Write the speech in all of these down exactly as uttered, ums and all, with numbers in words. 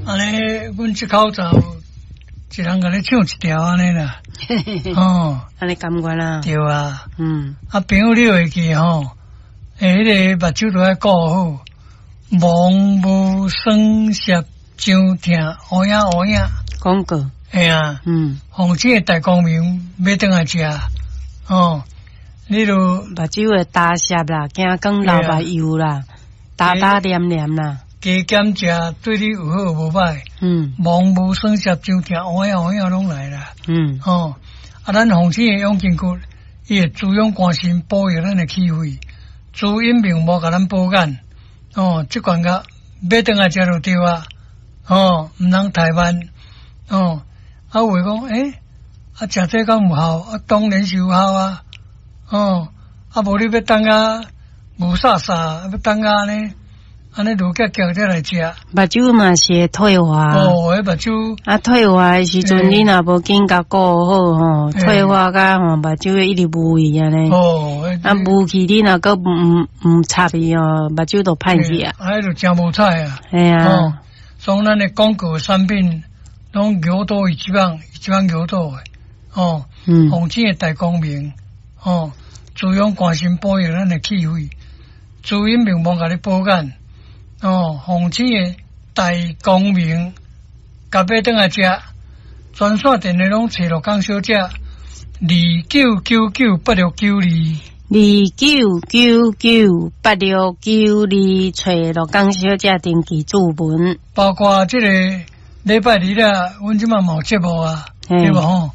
按呢，阮這口罩一人共你唱一條按呢啦。哦，按呢甘願啊。對啊。嗯。啊，朋友你會記吼？欸，彼个目睭都愛顧好，魍霧酸澀傷疼，烏影烏影。廣告。嘿啊。嗯。奉請的大光明欲轉來食，哦，你著目睭會焦澀啦，驚光流目油啦，焦焦黏黏啦。加減食對你有好無歹。嗯。魍霧酸澀傷疼，烏影烏影攏來啦。嗯。哦，啊，咱奉請的養筋骨，伊會滋養肝腎，保育咱的氣血，滋陰明目，共咱保眼。哦，這罐藥欲轉來食就對啊。哦，毋通怠慢。哦，啊有的講，欸，啊食這敢有效？啊當然是有效啊。哦，啊無你欲等啊，霧煞煞，欲等啊呢？按呢愈結結才來食。目睭嘛是會退化。哦，彼目睭。啊，退化的時陣，你若無緊共顧好吼，退化甲吼目睭會一直霧去按呢。哦。啊，霧去你若閣毋毋插伊哦，目睭就歹去啊。啊，彼就誠無彩啊。嘿啊。哦，所以咱的廣告產品攏牛刀伊這擺，伊這擺牛刀的。哦。嗯。奉請的大光明，哦，滋養肝腎，保育咱的氣血，滋陰明目，共你保眼。哦，奉請的大光明，共買轉來食，專線電話攏揣鹿港小姐，二九九九八六九二，二九九九八六九二，揣鹿港小姐登記注文。包括這個禮拜二啦，阮這擺嘛有節目啊，對無吼？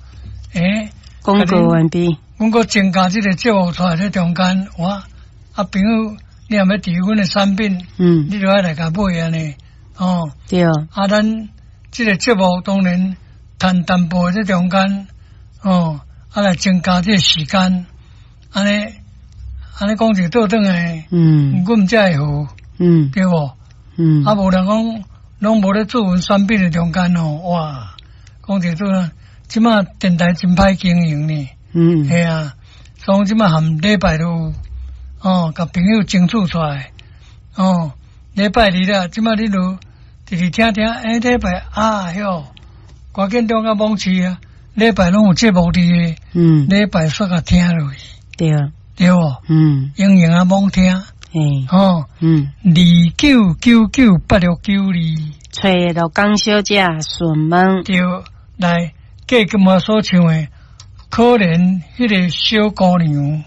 欸，廣告完畢。阮閣增加這個節目出來，這中間，哇，啊朋友。你若欲佇阮的產品，嗯，你就愛來共買按呢，哦，對。啊，咱這個節目當然談淡薄這中間，哦，啊來增加這個時間，按呢，按呢講就倒轉來，嗯，阮才會好，嗯，對無？嗯，啊，無人講攏無咧做阮產品的中間哦，哇，講一做，這馬電台真歹經營呢，嗯，嘿啊，所以這馬含禮拜都有。哦，共朋友爭取出來。哦，禮拜二啦，這馬你就直直聽聽，欸，禮拜啊喲，趕緊中甲網市啊，禮拜攏有節目佇個，嗯，禮拜煞共聽落去，對，對無？嗯，用用啊網聽，嘿，哦，嗯，二九九九八六九二，揣鹿港小姐順問，對，來，過今仔所唱的，可憐彼个小姑娘。